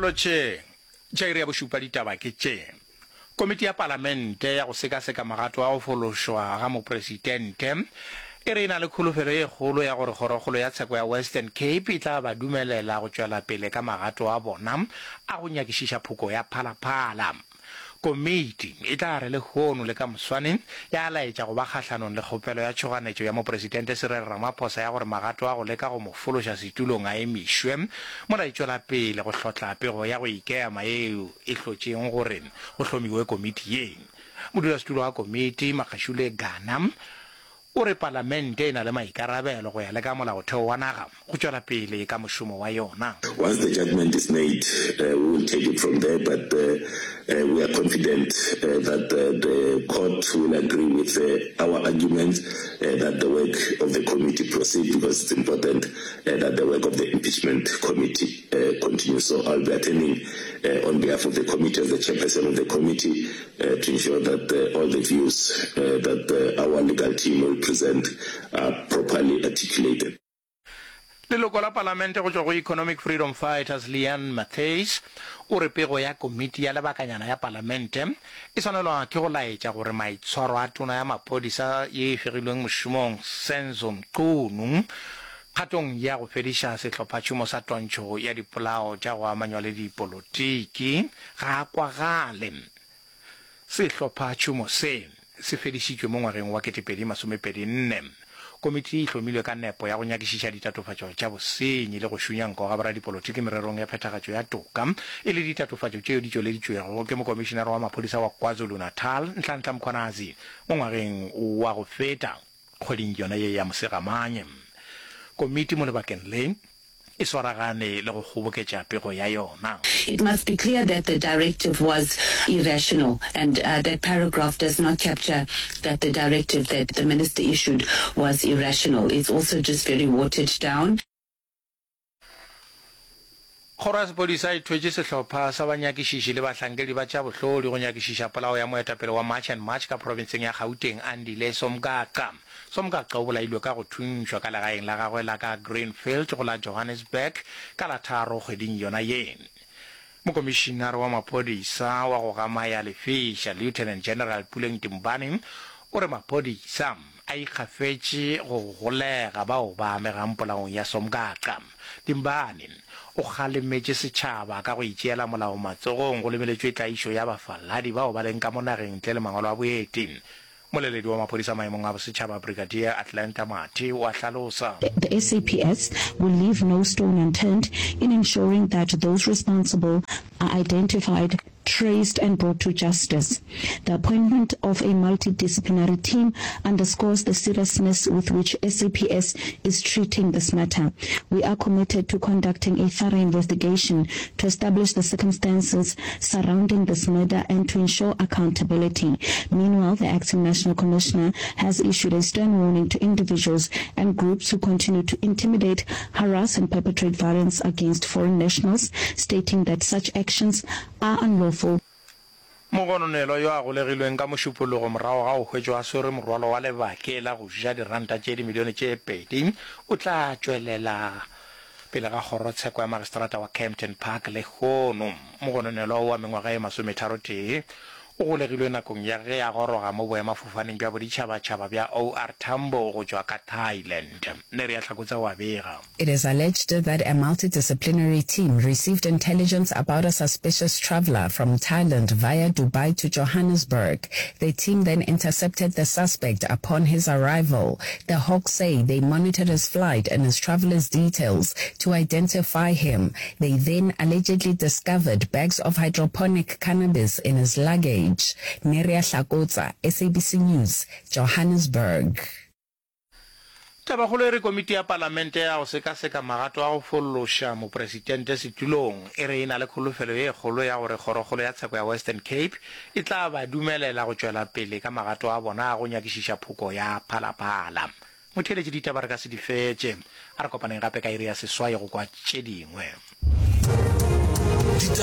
Dikarolo tše tša iri ya bošupa ditaba ke tše, Komiti ya Palamente ya go sekaseka magato a go fološwa ga Mopresidente e re e na le kholofelo ye kgolo ya gore Kgorokgolo ya Tsheko ya Western Cape e tla ba dumelela go tšwela pele ka magato a bona a go nyakišiša phoko ya Phala Phala. Komiti e tla re lehono le ka moswane ya laetša go ba kgahlanong le kgopelo ya tšhoganetšo ya Mopresidente Cyril Ramaphosa ya gore magato a go leka go mo fološa setulong a emišwe mola e tšwela pele go hlotla pego ya go ikema yeo e hlotšeng gore go hlomiwe komiti ye. Modulasetulo wa komiti, Makgashule Gana, O re palamente e na le maikarabelo go ya le ka molaotheo wa naga go tšwela pele ka mošomo wa yona. Once the judgment is made, we will take it from there, but we are confident that the court will agree with our arguments that the work of the committee proceed because it's important that the work of the impeachment committee continue. So I'll be attending on behalf of the committee as the chairperson of the committee to ensure that all the views that our legal team will present are properly articulated. Leloko la Palamente go tšwa go Economic Freedom Fighters Leanne Matthys o re pego ya komiti ya lebakanyana ya Palamente e swanelwa ke go laetša gore maitshwaro a tona ya maphodisa ye e fegilweng mošomong Senzo Mchunu kgatong ya go fediša sehlophatšhomo sa twantšho ya dipolao tša go amanywa le dipolotiki ga a kwagale. Sehlophatšhomo se se fedišitšwe mo ngwageng wa 2024. Komiti e hlomilwe ka nepo ya go nyakišiša ditatofatšo tša bosenyi le go šunya nko ga boradipolotiki mererong ya phethagatšo ya toka, e le ditatofatšo tšeo di tšweleditšwego ke Mokomišinare wa Maphodisa wa KwaZulu-Natal, Nhlanhla Mkhwanazi, mo ngwageng wa go feta kgweding yona ye ya Mosegamanye. Komiti mo lebakeng le e swaragane le go kgoboketša pego ya yona. It must be clear that the directive was irrational and that paragraph does not capture that the directive that the minister issued was irrational. It's also just very watered down. Kgoro ya sephodisa e thwetše sehlopha sa banyakišiši le bahlankedi ba tša bohlodi go nyakišiša polao ya moetapele wa March and March ka profenseng ya Gauteng, Andile Somgaqa. Somgaqa o bolailwe ka go thuntšhwa ka legaeng la gagwe la ka Greenfield go la Johannesburg ka la tharo kgweding yona ye. Mokomišinare wa maphodisa wa go gamaya lefeša, Lieutenant General Puleng Timbane, o re maphodisa a ikgafetše go golega bao ba amegang polaong ya Somgaqa. Timbane o kgalemetše setšhaba ka go itšeela molao matsogong go lebeletšwe tlaišo ya bafaladi bao ba leng ka mo nageng ntle le mangwalo a boeti. Moleledi wa maphodisa maemong a bosetšhaba Brigadier Atlanta Mathe o a hlalosa. The SAPS will leave no stone unturned in ensuring that those responsible are identified, traced and brought to justice. The appointment of a multidisciplinary team underscores the seriousness with which SAPS is treating this matter. We are committed to conducting a thorough investigation to establish the circumstances surrounding this murder and to ensure accountability. Meanwhile, the acting national commissioner has issued a stern warning to individuals and groups who continue to intimidate, harass and perpetrate violence against foreign nationals, stating that such actions are unlawful. Mogononelwa yo a golegilweng ka Mošupologo morago ga go hwetšwa a swere morwalo wa lebake la go ja diranta tše dimilione tše pedi o tla tšwelela pele ga kgorotsheko ya magistrata wa Kempton Park lehono. Mogononelwa wa mengwaga ye masometharotee o golegilwe nakong ya ge a goroga mo boemafofaneng bja boditšhabatšhaba bja OR Tambo go tšwa ka Thailand. Neria Hlakotsa o a bega. It is alleged that a multidisciplinary team received intelligence about a suspicious traveller from Thailand via Dubai to Johannesburg. The team then intercepted the suspect upon his arrival. The Hawks say they monitored his flight and his traveller's details to identify him. They then allegedly discovered bags of hydroponic cannabis in his luggage. Neria Hlakotsa, SABC News, Johannesburg. Tabakgolo e re komiti ya palamente ya go sekaseka magato a go fološa mopresitente setulong e re e na le kholofelo ye kgolo ya gore Kgorokgolo ya Tsheko ya Western Cape e tla ba dumelela go tšwela pele ka magato a bona a go nyakišiša phoko ya Phala Phala. Motheeletši ditaba re ka se di fetše. A re kopaneng gape ka iri ya seswai go kwa tše dingwe.